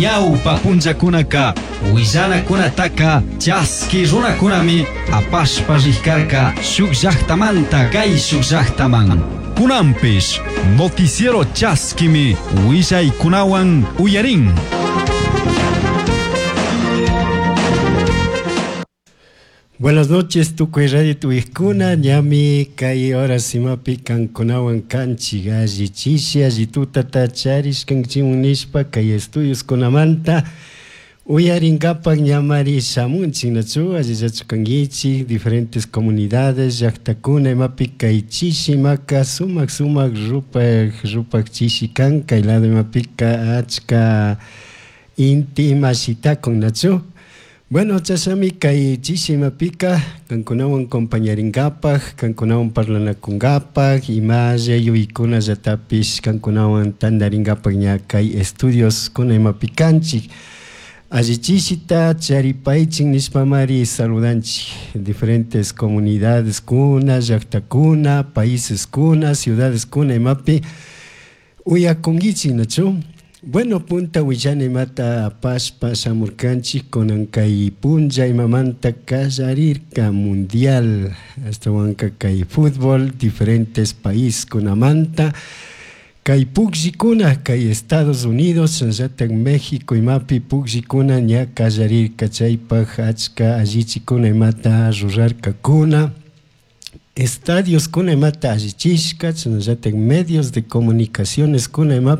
Ñawpa punllakunaka willanakunataka chaski runakunami apashpa rikarka shuk llaktamanta kayshuk llaktaman. Kunanpish noticiero chaskimi willaykunawan uyarin. Buenas noches, tukuy radio tuwijkuna, ñami kay horas imapi kankunawan kanchik alli chishi alli tutata charishkanchiwan nishpa kay estudios kunamanta uyarinkapak ñamari shamunchik nachu allillachu kankichik diferentes comunidades llaktakuna imapi kay chishi imaka sumak sumak rupak rupak chishi kan kay lado imapika achka inti ima shitakun nachu. Bueno, chashami kay chishi imapika kankunawan compañarinkapak, kankunawan parlanakunkapak, imalla yuykunallatapish kankunawan tantarinkapak ña kay estudios kuna imapi kanchik. Alli chishita charipaychik nishpamari saludanchik diferentes comunidades kuna, llaktakuna, países kuna, ciudades kuna imapi uyakunkichik nachu. Bueno, punta willana imata apashpa shamurkanchik kunan kay punlla imamanta kallarirka mundial ashtawanka kay fútbol diferentes país kunamanta kay pukllikuna kay Estados Unidos shinallatak México imapi pukllikuna ña kallarirka chaypak achka allichikuna imata rurarkakuna estadios kuna imata allichishka shinallatak medios de comunicaciones kuna imapi.